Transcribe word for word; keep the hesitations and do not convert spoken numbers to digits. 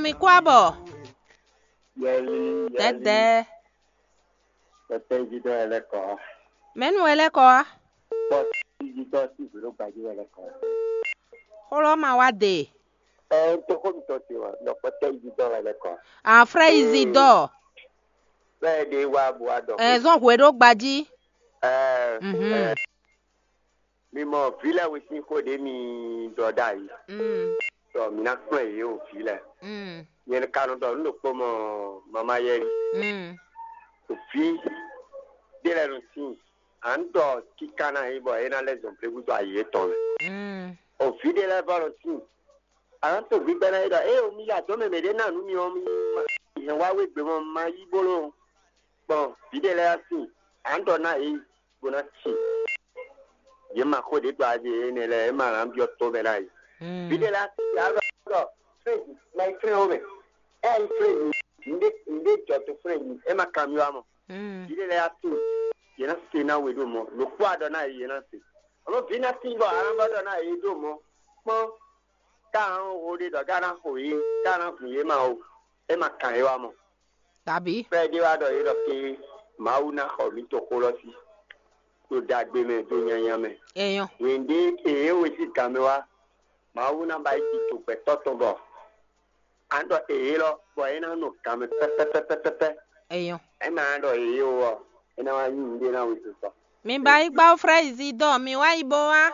Ikú àbọ̀. Yɛli, yɛli. Dɛdɛ. Pɛpɛ jí dɔ yɛ lɛ kɔ. Mɛnu wɛ lɛ kɔ wa? Pɔ jí dɔ sí vǐɖó gbajú wɛ lɛ kɔ. Xlɔ ma wa de. Ɛ, n tó xó mi tɔ te wa, nɔ pɛpɛ jí dɔ wɛ lɛ kɔ. A frɛ izi dɔ. Bɛɛ de wa bu wa dɔ. Ɛ, zɔn hwe ɖó gbají. Ɛ, Mhm. ɛ, mi mɔ vǐ lɛ́ɛ we sín xó ɖě mi ɖɔ ɖ'ayǐ. Mm. Ɖɔ mi ná kplɔ́n yě o vǐ lɛ́ɛ. Mm. Nyɛ ka nɔ ɖɔ nǔ ɖokpó mɔ mama yɛli. Mm. Vǐ ɖé lɛ́ɛ nɔ tíin. À ń ɖɔ kíká ná nyí bɔ é ná lɛ́ zɔn blégúdo ayǐ yětɔn mɛ. Mm. O vǐ ɖé lɛ́ɛ vɔ nɔ tíin. À nǎ to gbígbɛ́ ná é ɖɔ ée mi ya dɔ̌n mɛ mɛɖé ná nǔ mi ɔ́, mi hɛn wá wé gbé mɔ ma yí bóló gbɔn vǐ ɖé lɛ́ɛ sin. À ń ɖɔ ná yě bó ná sin. Yě ma xó ɖě ɖo aɖe énɛ́ lɛ́ɛ, é ma nǎ byɔ́ tó mɛ ná yě. Vǐ ɖé lɛ́ɛ sin, yě á ɖɔ ɖɔ frézi ma yi flɛ́n ó mɛ. É yi frézi, nǔɖé nǔɖé jɔ to frézi, é ma kanbyɔ́ ǎ mɔ. Vǐ ɖé lɛ́ɛ sin, yě ná se ná we ɖo mɔ. Lǒ kpó aɖɔ ná yě, yě ná se. Amɔ̌ vǐ ná sin bɔ alǎ bɔ ɖɔ ná yě ɖo mɔ. Kpɔ́n, ká ná xo ɖé ɖɔ ká ná xo yě, ká ná hun yě ma o. É ma kan yě wá mɔ. Tàbí? Fɛ́ ɖé wá ɖɔ yě ɖɔ ké Mawu ná xɔ mǐ toxo lɔ sí, ɖo ɖagbe mɛ, ɖo nyanya mɛ. Èèyàn. Wěndé e é we sín gan mɛ wá, Mawu ná ba yi tito gbɛtɔ́ tɔn bɔ a nǎ ɖɔ èyé lɔ, bɔ é ná nɔ gan mɛ pɛ́pɛ́pɛ́pɛ́pɛ́. Èèyàn. É ma ná ɖɔ èyé o ɔ́, é ná wá nyí nǔɖé ná wezun tɔn. Mi ba yi gbá frɛ́ izi dɔ mi wá yi bó wá.